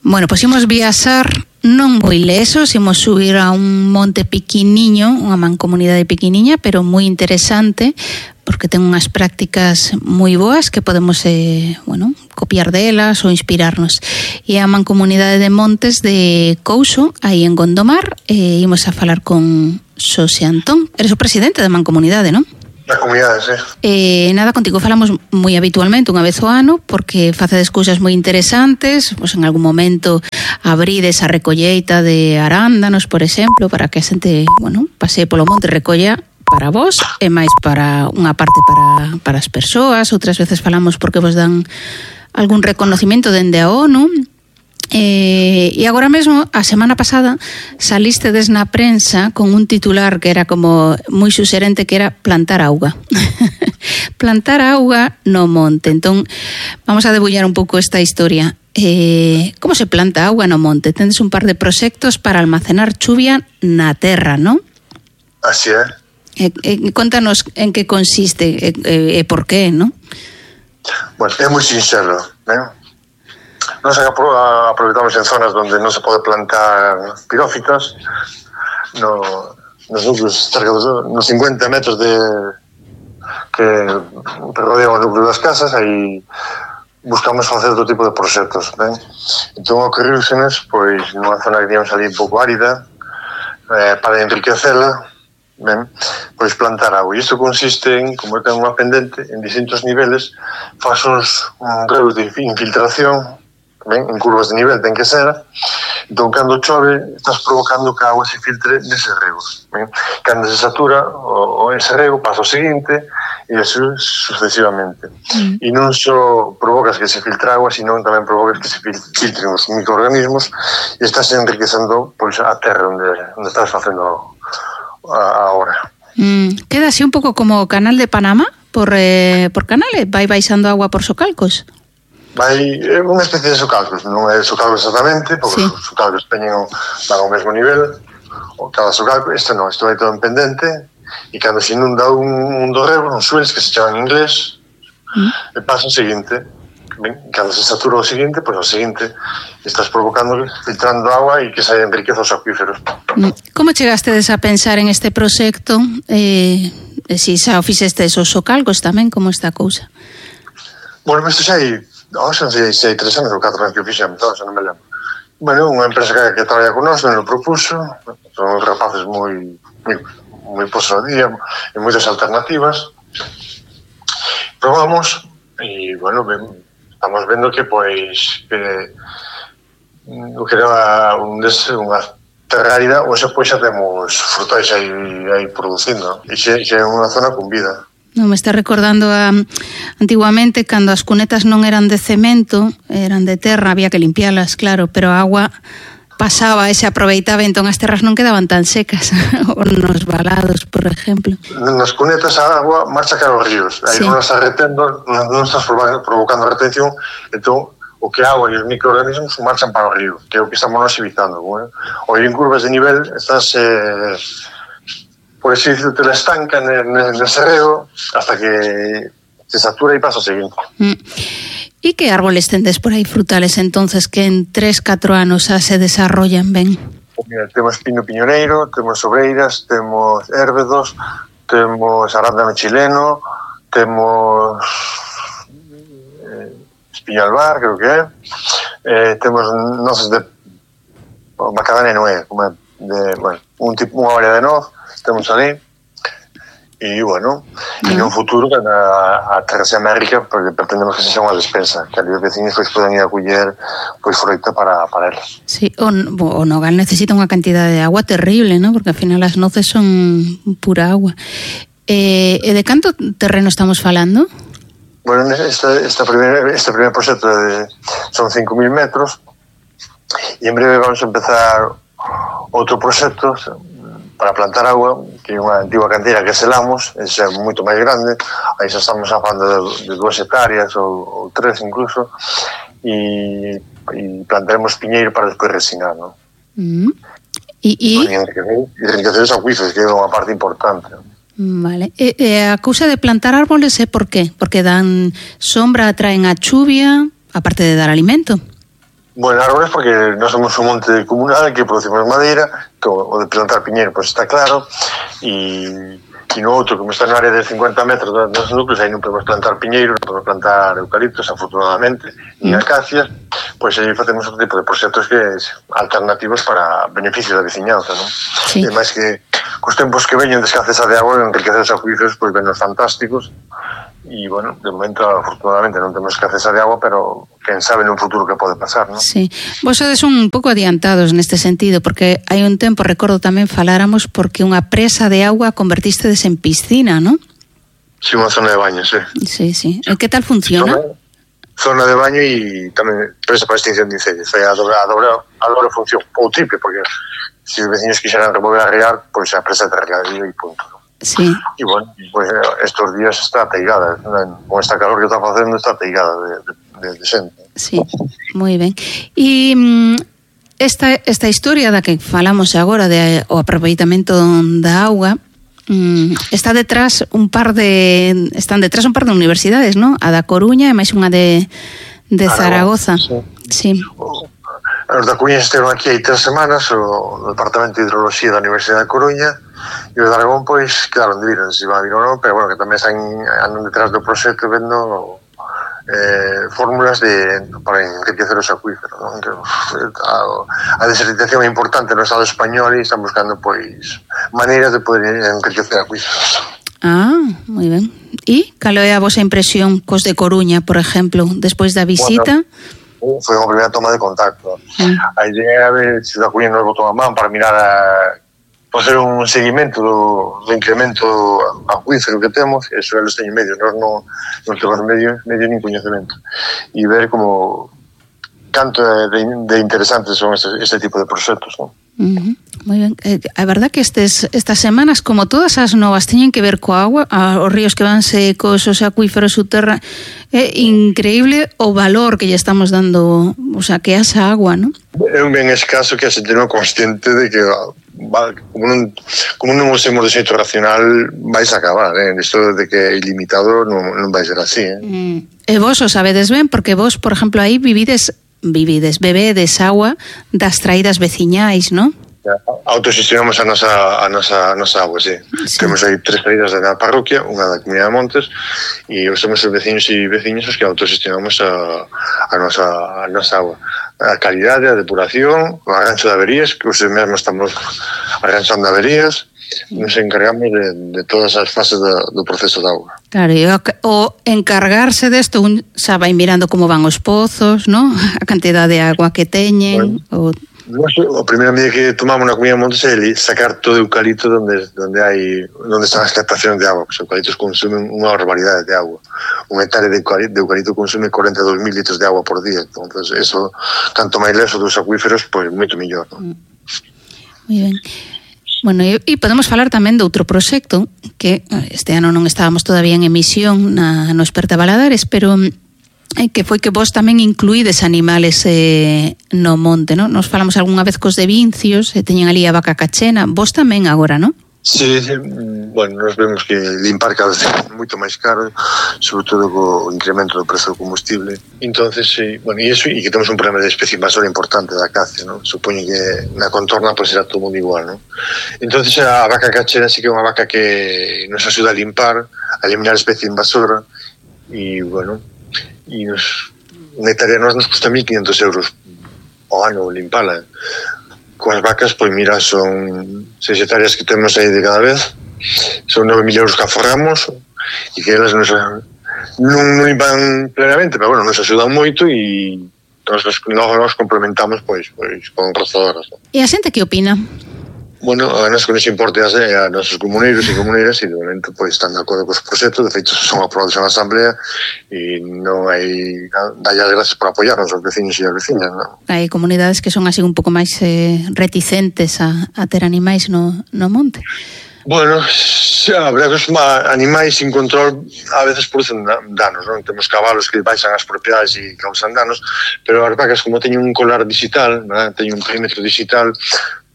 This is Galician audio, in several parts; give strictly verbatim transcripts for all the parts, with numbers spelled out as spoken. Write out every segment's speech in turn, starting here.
Bueno, pois imos viaxar non moi lesos, imos subir a un monte piquiniño, unha mancomunidade piquiniña, pero moi interesante, porque ten unhas prácticas moi boas que podemos, eh, bueno, copiar delas ou inspirarnos. E a mancomunidade de Montes de Couso, aí en Gondomar, e imos a falar con Xosé Antón. Eres o presidente da mancomunidade, non? Na comunidade, sí. Eh, nada, contigo falamos moi habitualmente unha vez ao ano porque facedes cousas moi interesantes, pois en algún momento abrides a recolleita de arándanos, por exemplo, para que a xente, bueno, pasee polo monte e recolla para vos e máis para unha parte para, para as persoas. Outras veces falamos porque vos dan algún reconocimiento dende a ONU. Eh, e agora mesmo, a semana pasada salistedes na prensa con un titular que era como moi suxerente, que era plantar auga. Plantar auga no monte. Entón, vamos a debullar un pouco esta historia. Eh, como se planta auga no monte? Tendes un par de proxectos para almacenar chuvia na terra, non? Así é. Eh, eh, contanos en que consiste e eh, eh, por qué, non? Bueno, é moi sincero, non? Nos aproveitamos en zonas onde non se pode plantar pirófitas, no, nos núcleos cerca dos, nos cincuenta metros de que rodean o núcleo das casas, aí buscamos facer outro tipo de proxectos, ben? Entón ocorriusenos, pois, nunha zona que digamos ali un pouco árida, eh, para enriquecela, ben, pois plantar agua. E isto consiste en, como ten unha pendente, en distintos niveles, faz uns un reus de infiltración, ben, en curvas de nivel ten que ser. Entón, cando chove, estás provocando que a agua se filtre nese rego, ben. Cando se satura o, o ese rego, pasa o seguinte e así sucesivamente. Mm. E non só provocas que se filtre agua, sino tamén provocas que se filtren os microorganismos e estás enriquecendo, pois, a terra onde, onde estás facendo a, a hora. Mm. Queda así un pouco como o canal de Panamá por, eh, por canales, vai baixando agua por socalcos. Vai, é unha especie de socalcos, non é socalcos exactamente, porque sí. Os socalcos teñen van ao mesmo nivel, o cada socalco, isto non, isto vai todo en pendente, e cando se inunda un, un dos regos, un swells, que se chaman en inglés, mm. e pasa o seguinte, ben, cando se satura o seguinte, pois pues, o seguinte estás provocando, filtrando agua e que se enriqueza os acuíferos. Mm. Como chegastedes a pensar en este proxecto? Eh, si xa o fixestes os socalcos tamén, como está a cousa? Bueno, isto xa hai Oh, xa sei, sei, tres anos ou catro anos que fixemos, xa non me lembro. Bueno, unha empresa que, que traballa con nós, non o propuso, son rapaces moi moi, moi posos a día, e moitas alternativas. Probamos, e, bueno, ben, estamos vendo que, pois, que o que era un des, unha terra árida, ou xa, pois, xa temos frutais aí, aí producindo, e xa, xa é unha zona con vida. Non, me está recordando a antiguamente cando as cunetas non eran de cemento, eran de terra, había que limpialas, claro, pero a agua pasaba e se aproveitaba, entón as terras non quedaban tan secas, ou nos valados, por exemplo. Nas cunetas a agua marcha cara aos ríos, aí sí. Non estás retendo, non estás provocando retención, entón o que a agua e os microorganismos marchan para o río, que é o que estamos nos evitando. Bueno? O ir en curvas de nivel, estás... Eh, por así decirlo, te la estanca nese rego hasta que se satura e pasa o seguinte. Mm. E que árboles tendes por aí frutales entonces que en tres, catro anos xa se desarrollan ben? Mira, temos pino piñoneiro, temos sobreiras, temos érbedos, temos arándano chileno, temos eh, espiño albar, creo que é, eh, temos noces de macadamia non é, como é, de, bueno, un tipo, unha variedade de noz, temos ali, e, bueno, mm. en un futuro que a, a terra se América, porque pretendemos que se xa unha despensa, que ali os vecinos pois, poden ir a culler pois, froita para, para elas. Sí, o, o nogal necesita unha cantidad de agua terrible, ¿no? Porque ao final as noces son pura agua. Eh, e de canto terreno estamos falando? Bueno, este, esta primer, este primer proxecto de, son cinco mil metros, e en breve vamos a empezar outro proxecto para plantar agua, que é unha antigua canteira que selamos, ese é moito máis grande, aí xa estamos falando de, de duas hectáreas ou, ou tres incluso, e, e plantaremos piñeiro para despois resinar, non? Mm. E, e... e enriquecer os acuíferos, que é unha parte importante. Vale. E, e a cousa de plantar árboles é por qué? Porque dan sombra, atraen a chuvia, aparte de dar alimento. Bueno, árboles porque nós somos un monte comunal que producimos madeira, que o de plantar piñeiro pois está claro, e e no outro, como está na área de cincuenta metros dos núcleos, aí non podemos plantar piñeiro, non podemos plantar eucaliptos, afortunadamente, ni acacias, pois aí facemos outro tipo de proxectos que alternativos para beneficio da veciñanza, non? Sí. E máis que cos tempos que veñen de escaseza de agua, enriquecer os acuíferos, pois venos fantásticos, e, bueno, de momento, afortunadamente, non temos escaseza de agua, pero quen sabe nun futuro que pode pasar, non? Sí. Vos sodes un pouco adiantados neste sentido, porque hai un tempo, recordo tamén faláramos, porque unha presa de agua convertistedes en piscina, non? Sí, unha zona de baño, sí. Sí, sí. E que tal funciona? Zona, zona de baño e tamén presa para extinción de incendios. Foi a doble, a doble, a doble función, ou triple, porque se os veciños quixeran remover a regar, pois a presa de regadío e punto, non? Sí. E, bueno, pues estos días está ateigada, con esta calor que está facendo está ateigada de, de, de xente. Sí, moi ben. E esta, esta historia da que falamos agora de o aproveitamento da auga, está detrás un par de están detrás un par de universidades, ¿no? A da Coruña e máis unha de, de Zaragoza. Sí. Sí. Os da Coruña estiveron aquí hai tres semanas, o Departamento de Hidroloxía da Universidade da Coruña, e os de Aragón, pois, quedaron de vir, non se iban a vir ou non, pero, bueno, que tamén están, andan detrás do proxecto vendo eh, fórmulas de, para enriquecer os acuíferos, non? A, a desertización é importante no Estado español e están buscando, pois, maneiras de poder enriquecer acuíferos. Ah, moi ben. E cal é a vosa impresión cos de Coruña, por exemplo, despois da visita? Bueno, foi unha primeira toma de contacto. Mm. A idea é se da Coruña nos botou a man para mirar a facer un seguimento do, do incremento acuífero que temos, e eso eles teñen medio, nós non, non temos medio, medio nin coñecemento, e ver como canto de, de interesantes son este, este tipo de proxectos, non? Uh-huh. Moi ben. Eh, a verdad que estes, estas semanas, como todas as novas teñen que ver coa agua, a, os ríos que van secos, os acuíferos subterráneos, é increíble o valor que lle estamos dando, o sea, que esa agua, non? É un ben escaso que a xente non é consciente de que va, como non, como non usemos de xeito racional vais a acabar, eh? Isto de que é ilimitado non, non vai ser así, eh? Mm. E vos o sabedes ben, porque vos, por exemplo, aí vivides vivides, bebedes agua das traídas veciñais, non? Autoxestionamos a nosa, a nosa, a nosa agua, sí. Sí. Temos aí tres traídas da parroquia, unha da Comunidade de Montes, e somos os veciños e veciñas os que autoxestionamos a, a, nosa, a nosa agua. A calidade, a depuración, o arranxo de averías, que os mesmos estamos arranxando averías, nos encargamos de, de todas as fases do, do proceso de auga. Claro, e o, o encargarse desto, un xa vai mirando como van os pozos, ¿no? A cantidad de agua que teñen. Bueno, o... o primeiro medida que tomamos na Comunidade de Montes é sacar todo o eucalipto donde, donde hai onde están as captacións de agua, porque os eucaliptos consumen unha barbaridade de agua. Un hectare de eucalipto, de eucalipto consume cuarenta e dous mil litros de agua por día, entonces eso, tanto máis leso dos acuíferos, pois moito mellor, non? Moi ben. Bueno, e, e podemos falar tamén de outro proxecto que este ano non estábamos todavía en emisión na, no Esperta Valadares, pero eh, que foi que vos tamén incluídes animales eh, no monte, non? Nos falamos algunha vez cos de Vincios, e teñen ali a vaca cachena, vos tamén agora, non? Sí, sí, bueno, nos vemos que limpar cada vez é moito máis caro, sobre todo co incremento do prezo do combustible. Entonces, sí, bueno, e iso, e que temos un problema de especie invasora importante da acacia, ¿no? Supoño que na contorna pois será todo mundo igual, ¿no? Entonces a vaca cachera sí que é unha vaca que nos axuda a limpar, a eliminar a especie invasora, e, bueno, e nos, unha hectárea nos nos custa mil quinhentos euros ao ano limpala. Coas vacas, pois mira, son seis hectáreas que temos aí de cada vez, son nove mil euros que aforramos, e que elas nos, non, non limpan plenamente, pero bueno, nos axudan moito, e nos, nos, nos complementamos pois, pois con rozadoras. E a xente que opina? Bueno, a nos con ese importe a, a nosos comuneiros e comuneiras, e de momento pois están de acordo cos proxectos, de feito son aprobados na Asamblea, e non hai, dalle as gracias por apoiarnos os veciños e as veciñas, non? Hai comunidades que son así un pouco máis eh, reticentes a, a ter animais no, no monte. Bueno, xa, a verdade que os animais sin control a veces producen danos, non? Temos cabalos que baixan as propiedades e causan danos, pero as vacas, como teñen un colar digital, ¿verdad? Teñen un perímetro digital,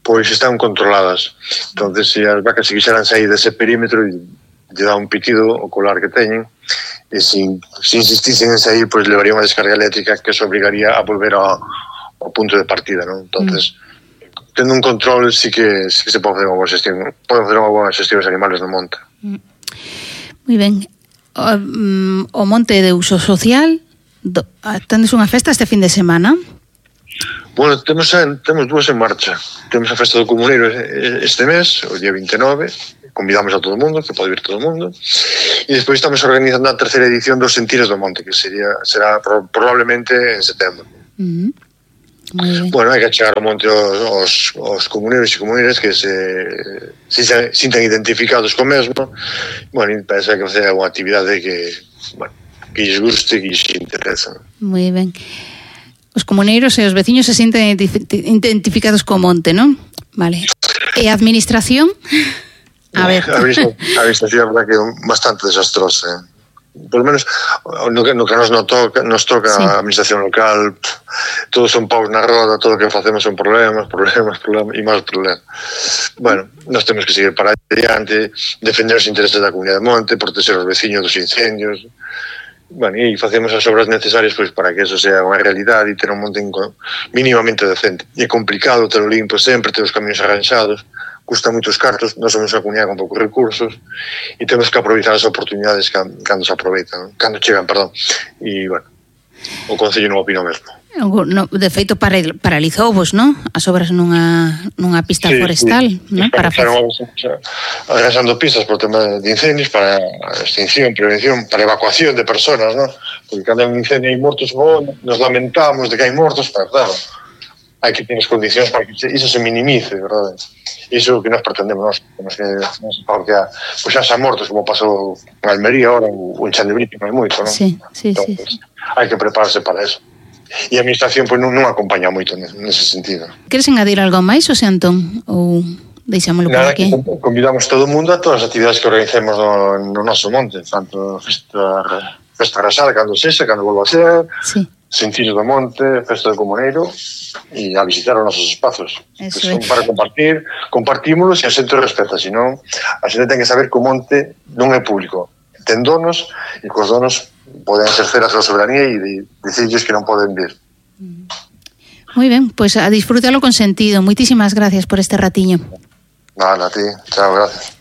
pois están controladas. Entonces, se as vacas se quixeran sair dese perímetro, lle dá un pitido o colar que teñen, e se, se insistisen en sair, pois levaría unha descarga eléctrica que se obrigaría a volver ao, o punto de partida, non? Entonces, mm. tendo un control sí que, sí que se pode facer unha boa xestión, pode facer unha boa xestión dos animales no monte. Mm. Moi ben. O, um, o monte de uso social, do, tendes unha festa este fin de semana? Bueno, temos, temos dúas en marcha. Temos a festa do comuneiro este mes, o día vinte e nove, convidamos a todo o mundo, que pode vir todo o mundo, e despois estamos organizando a terceira edición dos Sentires do Monte, que sería será pro, probablemente en setembro. Uh-huh. Bueno, hai que chegar ao monte os, os comuneiros e comuneiras que se, se, se sintan identificados co mesmo, bueno, e pensa que facer unha actividade que, bueno, que lles guste, que lles interesa. Moi ben. Os comuneiros e os veciños se sinten identificados co monte, non? Vale. E a administración? A ver. A administración é verdad que é bastante desastrosa, eh? Por lo menos no que, no que nos, no toca, nos toca sí. A administración local, todos son paus na roda, todo o que facemos son problemas, problemas, problemas e máis problemas. Bueno, nós temos que seguir para adiante, defender os intereses da comunidade de monte, proteger os veciños dos incendios. Bueno, e facemos as obras necesarias pois para que eso sea unha realidade e ter un monte mínimamente decente. E é complicado ter o limpo sempre, ter os camiños arranxados, custa moitos cartos, nós somos unha comunidade con poucos recursos e temos que aproveitar as oportunidades cando se aproveitan, cando chegan, perdón. E, bueno, o Concello non opina o mesmo. No, de feito, paralizou vos, non? As obras nunha, nunha pista sí, forestal, sí. Non? Para facer... Arrasando pistas por tema de incendios, para extinción, prevención, para evacuación de personas, non? Porque cando hai un incendio hai mortos, oh, nos lamentamos de que hai mortos, pero claro, hai que ter as condicións para que iso se minimice, verdade? Iso que nós pretendemos, nós, que non se porque pois xa xa mortos, como pasou en Almería ahora, ou en Chandebrito, non hai moito, non? Sí, sí, entonces, sí. Hai que prepararse para eso. E a administración pois, non, non acompaña moito nese sentido. Queres engadir algo máis, Xosé Antón? Ou deixámoslo por aquí? Convidamos todo o mundo a todas as actividades que organicemos no, no noso monte, tanto festa, festa rasada, cando sexa, cando volva a ser, sí. Sentires do monte, festa do comuneiro, e a visitar os nosos espazos. Que son para compartir, compartímolos e a xente respeta, senón a xente ten que saber que o monte non é público. Ten donos e cos donos poden exercer a súa soberanía e dicirles que non poden vir. Moi ben, pois pues a disfrútalo con sentido. Moitísimas gracias por este ratiño. Vale, a ti. Chao, gracias.